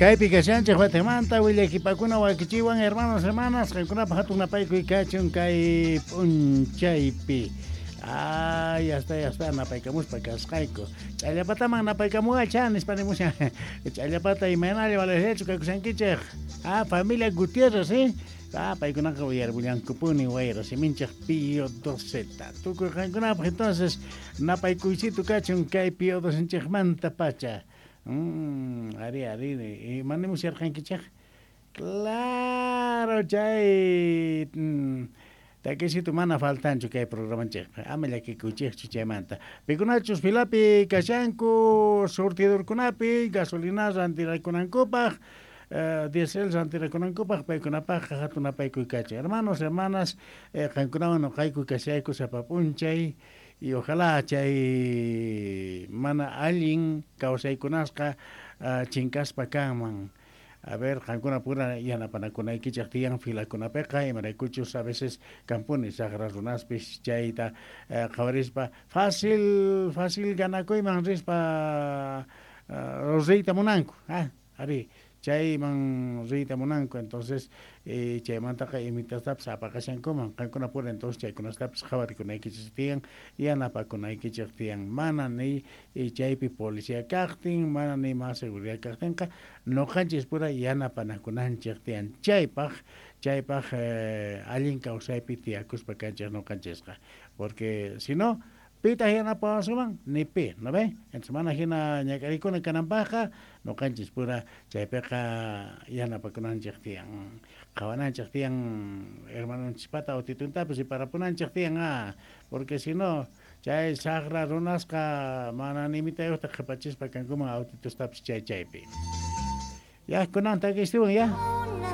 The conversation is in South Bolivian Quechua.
Kaypi kashanchej watejmanta willakipakuna wakichiwan hermanos, hermanas, qankunapaj hatun napaykuy kachun kay p'unchaypi. Ay, ya está, ya está, napaykamuspa kasqayku. Ch'allapataman napaykamuwacha nispa nimushan. Ch'allapata imaynalla valeriachu kakushankichej. Ah, familia Gutiérrez, ¿eh? Ah, paykunaqa uyarbullankupuni wayra siminchej Pío 12. Tukuy qankunapaj entonces napaykuysitu kachun kay Pío 12 pacha. Ari, ari, ima nimusharqankichej? Claro, chay takisitu mana faltanchu kay programanchejpi. Ama llakikuychejchu chaymanta. Pikunachus filapi kashanku surtidorkunapi gasolina rantirakunankupaj, diesel rantirakunankupaj, paykunapajqa hatun napaykuy kachin. Hermanos, hermanas, qankunawan noqayku kashayku sapa p'unchay y ojalá chay mana allin kawsaykunasqa chinkaspa kanman. A ver, qankuna pura yanapanakunaykichej tiyan filakunapiqa, imaraykuchus a veces kanpuni sajra runaspis chayta qhawarispa fácil, fácil ganakuyman rispa riyta munanku. Ari, chayman riyta munanku, entonces chaymantaqa imitastapis apaqashankuman. Qankuna pura entonces chaykunastapis qhawarikunaykichej tiyan, yanapakunaykichej tiyan. Mana ni chaypi policía kajtin, mana ni más seguridad kajtinqa, noqanchis pura yanapanakunanchej tiyan. Chaypaj, chaypaj allin kawsaypi tiyakuspa kanchej noqanchisqa. Porque si no, pitaq yanapawasuman? Ni pi, ¿no ve? Entonces mana hina ñak'arikuna kananpajqa, noqanchis pura chaypiqa yanapakunanchej tiyan. Qhawananchej tiyan hermanonchispata autituntapis riparapunanchej tiyan, porque si no, chay sajra runasqa mana nimitayuqta qhipachispa kankuman autitustapis chay chaypi. Ya, kunan takistiwan, ya.